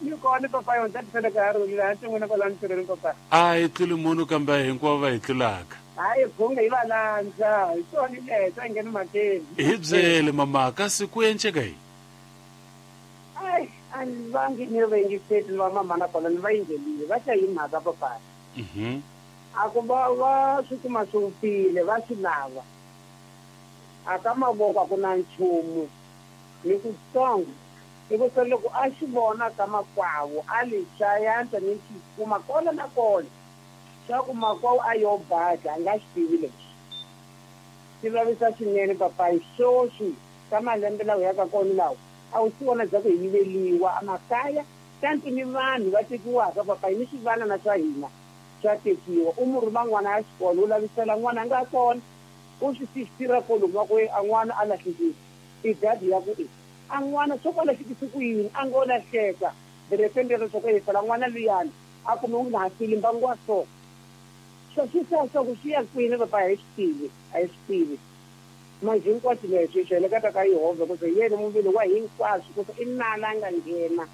Ni kona papa yo ndzi tsela ka hari la hansi n'wina kwala ntirhweni papa. A hi tluli munhu kambe hinkwavo va hi tlulaka. Hayi bhunga hi va landza hi swona leswi a ngheni mhakeni. Hi byele mama kasi ku enceka yini? Ai a ni vangi ni va yingiseti ni va mama na kona ni va yingelile va ta yi mhaka papa. A ku va va swi kuma swi wupfile va swi lava. A ka mavoko a ku na nchumu ni kutsongo. Hikusa loko a xi vona ka makwavo a li xa yantswa ni xi kuma kona na kona swa ku makwavo a yo badla a nga xi tivi leswi. Swi vavisa swinene papayi swoswi ka malembe lawa hi yaka kona lawa a wu swi vona bya ku hi yiveliwa a makaya kanti ni vanhu va tekiwaka papayi ni swivanana swa hina swa tekiwa u mu rhuma n'wana a ya xikolo u lavisela n'wana a nga kona u swi sixtira kolomu wa ku a n'wana a lahlekile i dadi ya ku i a n'wana swo ku a lahlekise ku yini a ngo lahleka direpeni rero swa ku e phela n'wana luyani a kume u nga ha fili mbangu wa so swo swi sa swa ku swi ya kwini papa a hi swi tivi a hi swi tivi manje hinkwaswo leswi swi heleketa ka Yehovha ku se yena muvili wa hinkwaswo ku se i nala a nga nghena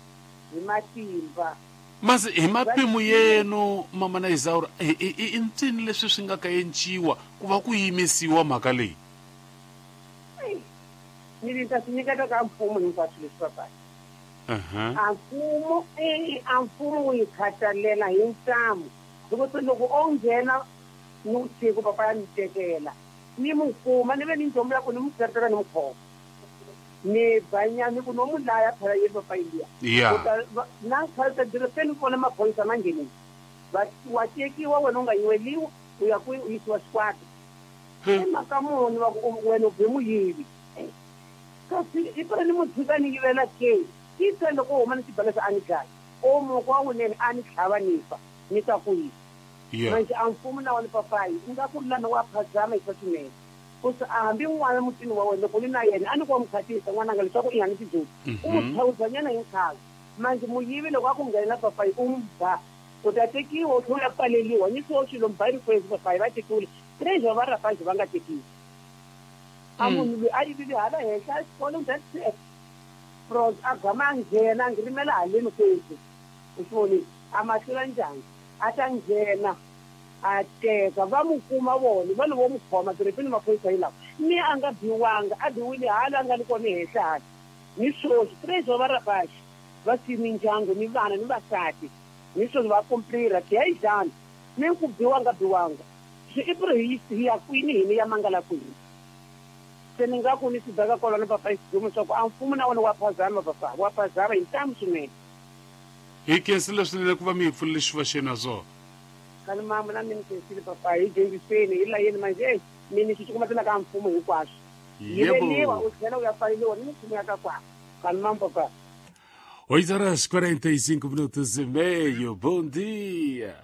hi matimba. Masi hi mapimo yenu mama na Isaura i ncini leswi swi nga ka enciwa ku va ku yimisiwa mhaka leyi? Ni ni ta swi nyiketa ka mfumo hinkwaswo leswi papa. A mfumo a mfumo wu yi khathalela hi ntamu hikuva loko o nghena ni vusiku papa ya ni tekela ni mu kuma ni ve ni njomu ya ku ni mu teretela ni mu khoma ni banya ni ku no mu laya phela yini papa India. Na khalta dire se ni vona maphorisa ma nghenile va wa tekiwa wena u nga yiweliwa u ya kwihi u yisiwa xikwata i mhaka muni va ku wena u be muyivi kasi i phela ni mu tshika ni yivela ke i se loko u huma ni xibalesa a ni dlaya o moko wa wunene a ni tlhava ni fa ni ta ku yini manje a mfumo na wona papayi u nga ku lana wa phazama hi swa swinene ku se a hambi n'wana mutini wa wena loko ni na yena a ni ku wa mu khatisa n'wananga leswaku i nga ni tidyondzo u mu thawuzanyana hi nkhavi manje muyivi loko a ku nghena papayi u mu ba u ta tekiwa u tlhela u ya pfaleliwa ni swo swilo mbayiri kwezi papayi va tekiwile treasure va rapaji va nga tekiwi a munhu loyi a yivile hala henhla xikolo that's pros a gama a nghena a ngirimela haleni kwezi u swi vonile a ma hlula njhani a ta nghena a teka va mu kuma vona va vo mu khoma direpini maphorisa yi lawa ni a nga biwanga a biwile hala a nga ni kona henhla hala ni swoswi treasure va rapaji va siyi mindyangu ni vana ni vasati ni swoswi va komplira diyayizana ni ku biwanga biwanga swi i puri hi ya kwini hini ya mangala kwini se ni nga ku ni swi beka kwalano papa xidumo swa ku a mfumo na wona wa phazama papa wa phazama hi ntamu swinene. Hi khensile swinene ku va mi hi pfulele xifuva xenu ha swona. Kani mama na mi ni khensile papa hi dyondziseni hi layeni manje mi ni swi cukumetela ka mfumo hinkwaswo. Yiveliwa u tlhela u ya pfaleliwa ni mfumo ya ka kwala. Kani mama papa. 8 horas 45 minutos e meio. Bom dia.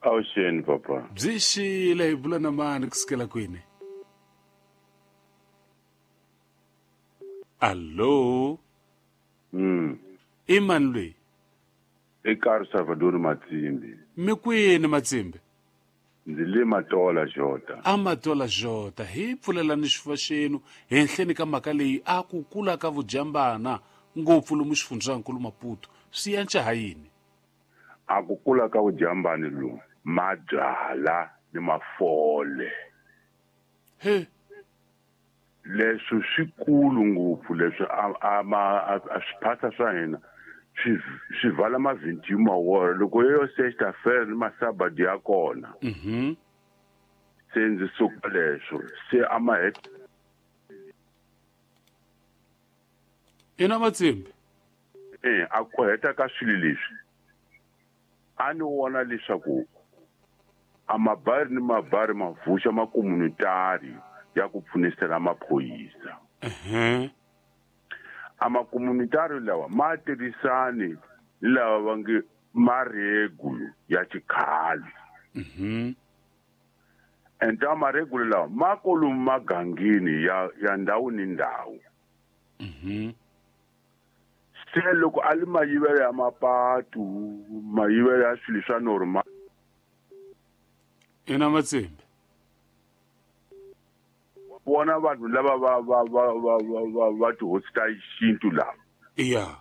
Awuxeni papa. Byi xile hi bula na mani kusukela kwini? Allo. I mani loyi? I Karo Salvador Matsimbi. Mi kwini Matsimbi? Ndzi le Matola Jota. A Matola Jota hi pfulelani xifuva xenu henhleni ka mhaka leyi a ku kula ka vujambana ngopfu lomu xifundzankulu Maputo swi yanca ha yini? A ku kula ka vujambani lomu mabyala ni mafole. He. Leswi swikulu ngopfu leswi a ma a swiphasa swa hina swi swi vala mavhinti mawora loko yo sexta fer ni masabadi ya kona. Se ndzi suka leswo se a ma het Ina Matsimbi. A ku heta ka swilo leswi a ni vona leswaku a mabari ni mabari ma vuxa makomunitari ya ku pfunisela maphorisa. A makomunitari lawa ma tirhisani ni lava va nge maregulu ya xikhale. Enta maregulu lawa ma kolomu magangeni ya ndhawu ni ndhawu. Se loko a li mayivelo ya mapatu mayivelo ya swilo swa normal. Ina Matsimbi. Vona vanhu lava va va va va va va va tihosi ta xintu lava. Yeah.